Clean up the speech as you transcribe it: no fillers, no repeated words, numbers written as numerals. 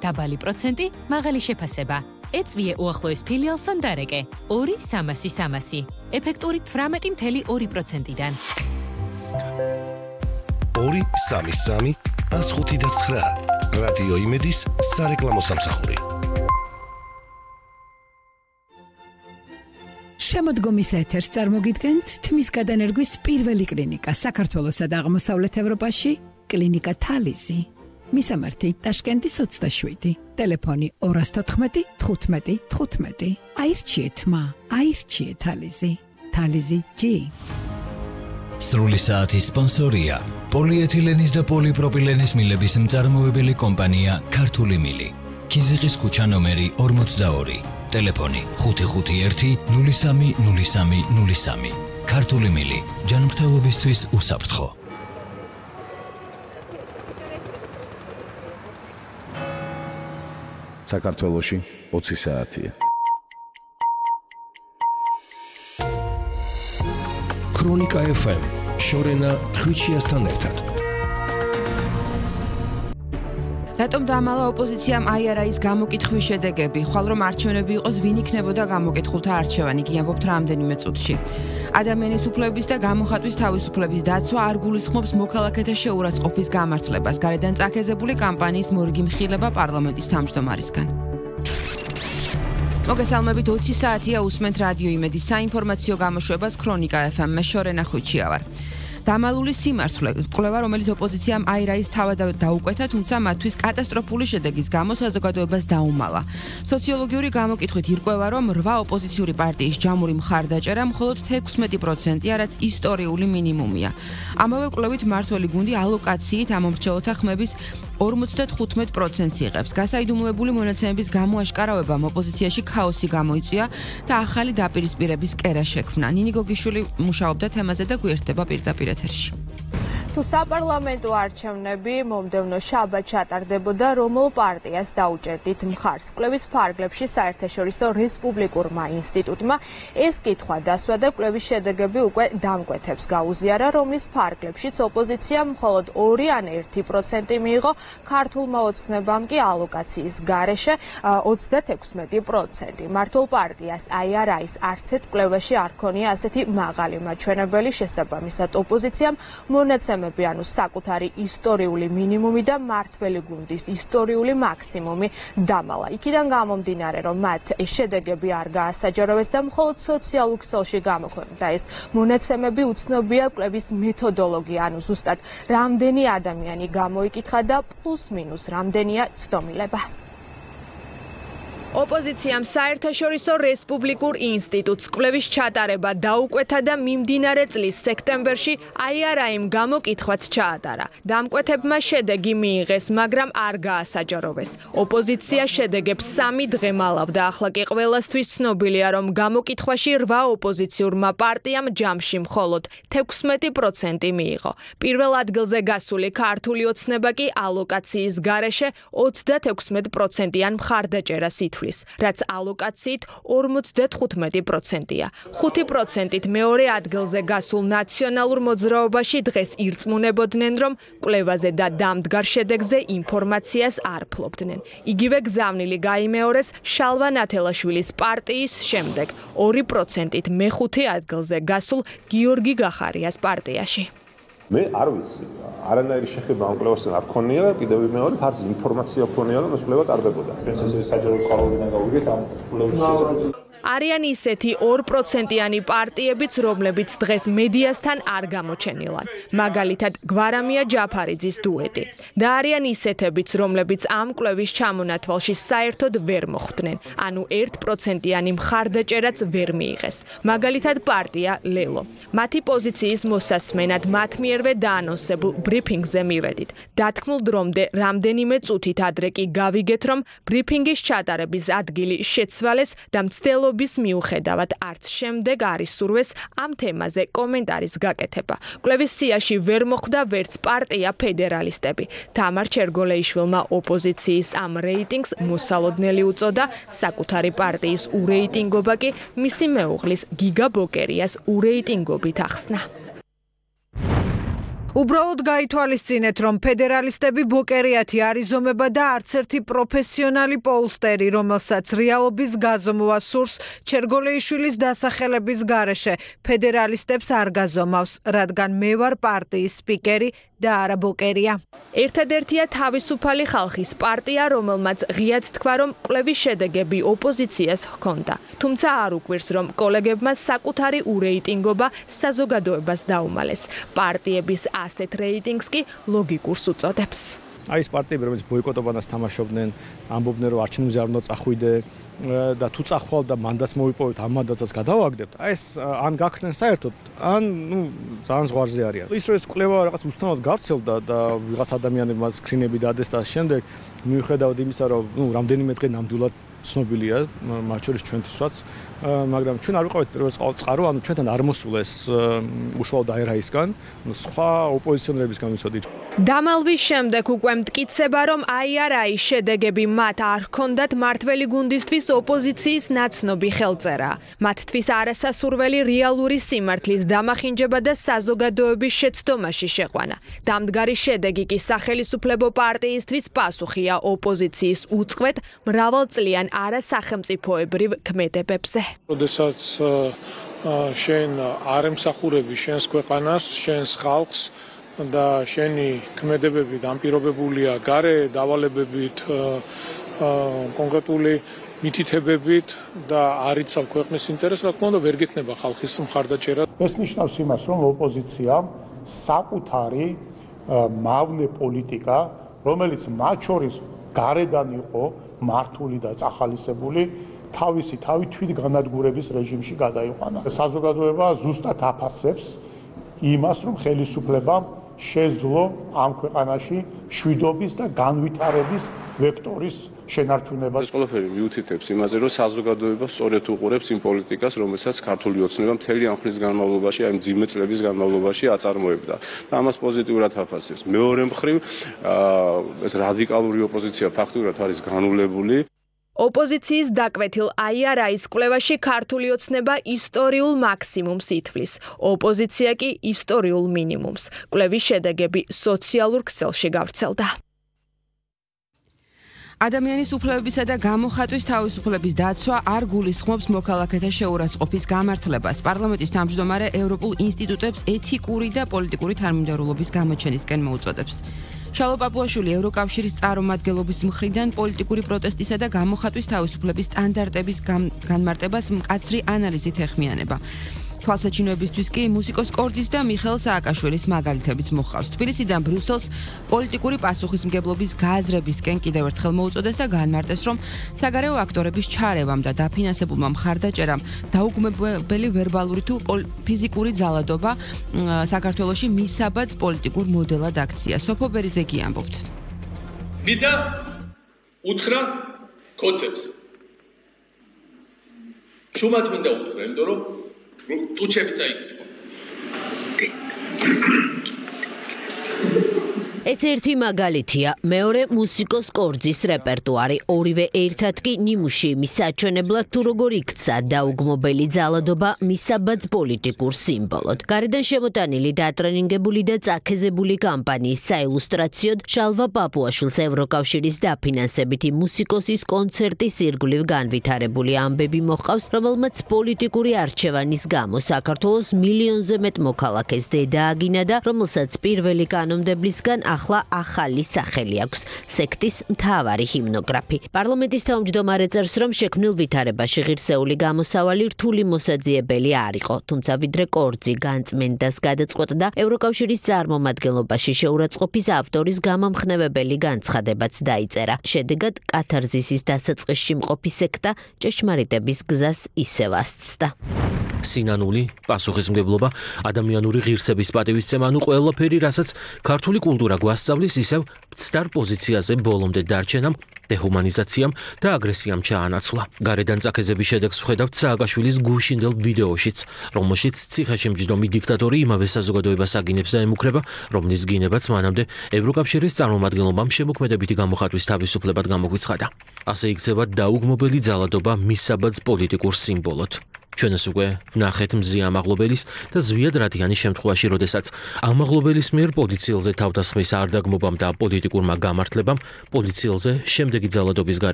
დაბალი პროცენტი, მაღალი შეფასება. ეწვიე უახლოეს ფილიალსთან დარეკე. 2-300-300. ეფექტური 18.2%-დან. 2-3-3-105-9. რადიო იმედის სარეკლამო სამსახური. შემოდგომის ეთერს წარმოგიდგენთ თმის გადანერგვის პირველი კლინიკა საქართველოსა და აღმოსავლეთ ევროპაში, კლინიკა თალიზი. მისამართი ტაშკენტის 27, ტელეფონი 214 15 15. აირჩიეთ აირჩიეთ თალიზი. თალიზი G. სრული საათის სპონსორია პოლიეთილენის და პოლიპროპილენის მილების მწარმოებელი კომპანია ქართული მილი. ქიზიყის ქუჩა ნომერი 42, ტელეფონი 551 03 03 03. ქართული მილი, ჯანმრთელობისთვის უსაფრთხო. საქართველოში 20 საათია. ქრონიკა FM შორენა ხვიჩიასთან ერთად. რატომ დაამალა ოპოზიციამ IRA-ის გამოკითხვის შედეგები? ხვალ რომ არჩევნები იყოს, ვინ იქნებოდა გამოკითხულთა არჩევანი? კი ამბობთ რამდენიმე წუთში. ადამიანის უფლებების და გამოხატვის თავისუფლების დაცვა არ გულისხმობს მოქალაქეთა შეურაცხყოფის გამართლებას. გარედან წაქეზებული კამპანიის მორიგი მხილება პარლამენტის თავმჯდომარისგან. მოგესალმებით, 20 საათია უსმენთ რადიო იმედის საინფორმაციო გამოშვებას ქრონიკა FM-ს შორენა ხვიჩია ვარ. დამალული სიმართლე, კვლევა, რომელიც ოპოზიციამ IRA-ის თავად დაუკვეთა, თუმცა მათთვის კატასტროფული შედეგის გამო საზოგადოებას დაუმალა. სოციოლოგიური გამოკითხვით ირკვევა, რომ 8 ოპოზიციური პარტიის ჯამური მხარდაჭერა მხოლოდ 16%-ია, რაც ისტორიული მინიმუმია. ამავე კვლევით მმართველი გუნდი ალოკაციით ამომრჩეველთა ხმების 55%-ს იღებს. გასაიდუმლოებული მონაცემების გამოაშკარავებამ ოპოზიციაში ქაოსი გამოიწვია და ახალი დაპირისპირების კერა შექმნა. ნინი გოგიშვილი მუშაობდა თემაზე და გვერდება პირდაპირ ეთერში. თუ საპარლამენტო არჩევნები მომდევნო შაბათს ჩატარდებოდა, რომელ პარტიას დაუჭერდით მხარს? კვლევის ფარგლებში საერთაშორისო რესპუბლიკურმა ინსტიტუტმა ეს კითხვა დასვა და კვლევის შედეგები უკვე დამკვეთებს გაუზიარა, რომლის ფარგლებშიც ოპოზიციამ მხოლოდ 2 ან 1% მიიღო, ქართულმა ოცნებამ კი ალოკაციის გარეშე 36%. მართულ პარტიას IRA-ის არც ერთ კვლევაში არ ქონია ასეთი მაღალი მაჩვენებელი, შესაბამისად ოპოზიციამ მონაცემები ანუ საკუთარი ისტორიული მინიმუმი და მმართველი გუნდის ისტორიული მაქსიმუმი დამალა. იქიდან გამომდინარე, რომ მათ შედეგები არ გაასაჯაროვეს და მხოლოდ სოციალურ ქსელში გამოქვეყნდა ეს მონაცემები, უცნობია კვლევის მეთოდოლოგია, ანუ ზუსტად რამდენი ადამიანი გამოიკითხა და პლუს-მინუს რამდენია ცდომილება. ოპოზიციამ საერთაშორისო რესპუბლიკურ ინსტიტუტს კვლევის ჩატარება დაუკვეთა და მიმდინარე წლის სექტემბერში IRA-იმ გამოკითხვაც ჩაატარა. დამკვეთებმა შედეგი მიიღეს, მაგრამ არ გაასაჯაროვეს. ოპოზიცია შედეგებს 3 დღე მალავდა. ახლა კი ყველასთვის ცნობილია, რომ გამოკითხვაში 8 ოპოზიციურმა პარტიამ ჯამში მხოლოდ 16% მიიღო. პირველ ადგილზე გასული ქართული ოცნება კი ალოკაციის გარეშე 36%-იან მხარდაჭერას ითვლის, რაც ალოკაციით 55%-ია. 5%-ით მეორე ადგილზე გასულ ნაციონალურ მოძრაობაში დღეს ირწმუნებოდნენ, რომ კვლევაზე და დამდგარ შედეგზე ინფორმაციას არ ფლობდნენ. იგივე გზავნილი გაიმეორეს შალვა ნათელაშვილის პარტიის შემდეგ 2%-ით მეხუთე ადგილზე გასულ გიორგი გახარიას პარტიაში. მე არ ვიცი, არანაირი შეხება ამ კვლევასთან არ ქონია და კიდევ მეორე ფარზე ინფორმაცია ქონია, რომ ეს კვლევა ტარდებოდა. ეს საჯარო წყაროებიდან გავიგეთ ამ კვლევის შესახებ. არიან ისეთი 2%-იანი პარტიებიც, რომლებიც დღეს მედიასთან არ გამოჩენილან. მაგალითად, გვარამია ჯაფარიძის დუეტი. და არიან ისეთებიც, რომლებიც ამ კვლევის ჩამონათვალში საერთოდ ვერ მოხვდნენ. ანუ 1%-იანი მხარდაჭერაც ვერ მიიღეს. მაგალითად, პარტია ლელო. მათი პოზიციის მოსასმენად მათ მიერვე დაანონსებულ ბრიფინგზე მივედით. დათქმულ დრომდე რამდენიმე წუთით ადრე კი გავიგეთ, რომ ბრიფინგის ჩატარების ადგილი შეცვალეს და მცდელობა მიუხედავად არც შემდეგ არის სურვეს ამ თემაზე კომენტარის გაკეთება. კვლევის სიაში ვერ მოხვდა ვერც პარტია ფედერალისტები. თამარ ჩერგოლეიშვილმა ოპოზიციის ამ რეიტინგს მოსალოდნელი უწოდა, საკუთარი პარტიის ურეიტინგობა კი მისი მეუღლის გიგა ბოკერიას ურეიტინგობით ახსნა. უბრალოდ გაითვალისწინეთ, რომ ფედერალისტები ბოკერიათი არიზომება და არც ერთი პროფესიონალი პოლსტერი, რომელსაც რეალობის გაზომვა სურს ჩერგოლეიშვილის დასახელების გარეშე, ფედერალისტებს არ გაზომავს, რადგან მე ვარ პარტიის სპიკერი და არა ბოკერია. ერთადერთია თავისუფალი ხალხის პარტია, რომელმაც ღიად თქვა, რომ კვლევის შედეგები ოპოზიციას ჰქონდა. თუმცა არ უკვირს, რომ კოლეგებმა საკუთარი ურეიტინგობა საზოგადოებას დაუმალეს. პარტიების ასეთ რეიტინგს კი ლოგიკურს უწოდებს. აი ეს პარტიები, რომელიც ბოიკოტობანას თამაშობდნენ, ამბობდნენ, რომ არჩევნებზე არ უნდა წახვიდე და თუ წახვალ და მანდატს მოვიპოვეთ, ამ მანდატსაც გადავაგდებთ. აი ეს ან გაქრნენ საერთოდ, ან ძალიან ზღვარზე არიან. ის რომ ეს კვლევა რაღაც უსტანოდ გავრცელდა და ვიღაც ადამიანებმა სკრინები დადეს და შემდეგ მიუხედავად იმისა, რომ რამდენიმე დღე ნამდვილად ცნობილია, მათ შორის ჩვენთვისაც, მაგრამ ჩვენ არ ვიყავით პირველ წყარო, ანუ ჩვენთან არ მოსულა ეს უშუალოდ აირაისგან, სხვა ოპოზიციონერებისგან ვიცოდით. დამალვის შემდეგ უკვე მტკიცება, რომ აირაის შედეგები მათ არ ჰქონდათ მართველი გუნდისთვის ოპოზიციის ნაცნობი ხელწერა. მათთვის არასასურველი რეალური სიმართლის დამახინჯება და საზოგადოების შეცდომაში შეყვანა. დამდგარი შედეგი კი სახელისუფლებო პარტიისთვის პასუხია ოპოზიციის უწყვეტ მრავალწლიან არასახელმწიფოებრივ ქმედებებზე. როდესაც შენ არ ემსახურები შენს ქვეყანას, შენს ხალხს და შენი ქმედებები განპირობებულია გარე დავალებებით, კონკრეტული მითითებებით და არ იცავ ქვეყნის ინტერესს, რა თქმა უნდა, ვერ გექნება ხალხის მხარდაჭერა. ეს ნიშნავს იმას, რომ ოპოზიციამ საკუთარი მავნე პოლიტიკა, რომელიც მათ შორის გარედან იყო მართული და წახალისებული, თავისი თვით განადგურების რეჟიმში გადაიყვანა. საზოგადოება ზუსტად აფასებს იმას, რომ ხელისუფლებამ შეძლო ამ ქვეყანაში მშვიდობის და განვითარების ვექტორის შენარჩუნება. ეს ყველაფერი მიუთითებს იმაზე, რომ საზოგადოება სწორედ უყურებს იმ პოლიტიკას, რომელსაც ქართული ოცნება მთელი ამ ხნის განმავლობაში, აი მძიმე წლების განმავლობაში აწარმოებდა. და ამას პოზიტიურად აფასებს. მეორე მხრივ, ეს რადიკალური ოპოზიცია ფაქტურად არის განულებული. ოპოზიციის დაკვეთილ აირაის კვლევაში ქართული ოცნება ისტორიულ მაქსიმუმს ითვლის, ოპოზიცია კი ისტორიულ მინიმუმს. კვლევის შედეგები სოციალურ ქსელში გავრცელდა. ადამიანის უფლებებისა და გამოხატვის თავისუფლების დაცვა არ გულისხმობს მოქალაქეთა შეურაცხყოფის გამართლებას. პარლამენტის თავმჯდომარე ევროპულ ინსტიტუტებს ეთიკური და პოლიტიკური თანმიმდევრულობის გამოჩენისკენ მოუწოდებს. შალო პაპუაშვილი ევროკავშირის წარმომადგენლობის მხრიდან პოლიტიკური პროტესტისა და გამოხატვის თავისუფლების სტანდარტების განმარტებას მკაცრი ანალიზით ეხმიანება. თვალსაჩინოებისთვის კი მუსიკოს კორძის და მიხეილ სააკაშვილის მაგალითებიც მოჰყავს. თბილისიდან ბრიუსელს პოლიტიკური პასუხისმგებლობის გააზრებისკენ კიდევ ერთხელ მოუწოდეს და განმარტეს, რომ საგარეო აქტორების ჩარევამ და დაფინანსებულმა მხარდაჭერამ დაუგმებელი ვერბალური თუ ფიზიკური ძალადობა საქართველოში მისაბაძ პოლიტიკურ მოდელად აქცია. სოფო ბერიძე ამბობთ. მიდა უთხრა კოცებს. შუმად მინდა უთხრა, იმიტომ რომ ტუჩები წაიკითხო. ეს ერთი მაგალითია, მეორე მუსიკოს კორძის რეპერტუარი, ორივე ერთად კი ნიმუში იმის საჩვენებლად თუ როგორ იქცა დაუგმობელი ძალადობა მისაბაძ პოლიტიკურ სიმბოლოდ. გარედან შემოტანილი დატრენინგებული და წაქეზებული კამპანიის საილუსტრაციოდ შალვა პაპუაშვილს ევროკავშირის დაფინანსებითი მუსიკოსის კონცერტის ირგვლივ განვითარებული ამბები მოჰყავს, რომელმაც პოლიტიკური არჩევანის გამო საქართველოს მილიონზე მეტ მოქალაქეს დედა აგინა და რომელსაც პირველი კანონმდებლისგან ახლა ახალი სახელი აქვს სექტის მთავარი ჰიმნოგრაფი. პარლამენტის თავმჯდომარე წერს, რომ შექმნილ ვითარებაში ღირსეული გამოსავალი რთული მოსაძიებელი არ იყო, თუმცა ვიდრე კორძი განწმენდას გადაწყვეტდა, ევროკავშირის წარმომადგენლობაში შეურაცხყოფის ავტორის გამამხნევებელი განცხადებაც დაიწერა. შედეგად კათარზისის დასაწყისში მყოფი სექტა ჭეშმარიტების გზას ისევ ასწდა. სინანული, პასუხისმგებლობა, ადამიანური ღირსების პატივისცემა, ანუ ყველაფერი, რასაც ქართული კულტურა გვასწავლის, ისევ მცდარ პოზიციაზე ბოლომდე დარჩენამ, დეჰუმანიზაციამ და აგრესიამ ჩაანაცვლა. გარედან წაქეზების შედეგს ვხედავთ სააკაშვილის გუშინდელ ვიდეოშიც, რომელშიც ციხეში მჯდომი დიქტატორი იმავე საზოგადოებას აგინებს და ემუქრება, რომლის გინებაც მანამდე ევროკავშირის წარმომადგენლობამ შემოქმედებითი გამოხატვის თავისუფლებად გამოგვიცხადა. ასე იქცევა დაუგმობელი ძალადობა მისაბაძ პოლიტიკურ სიმბოლოდ. ჩვენს უკვე ვნახეთ მზია ამაღლობელის და ზვიად რადიანის შემთხვევაში, როდესაც ამაღლობელის მიერ პოლიციელზე თავდასხმის არ დაგმობამ და პოლიტიკურმა გამართლებამ პოლიციელზე შემდეგი ძალადობის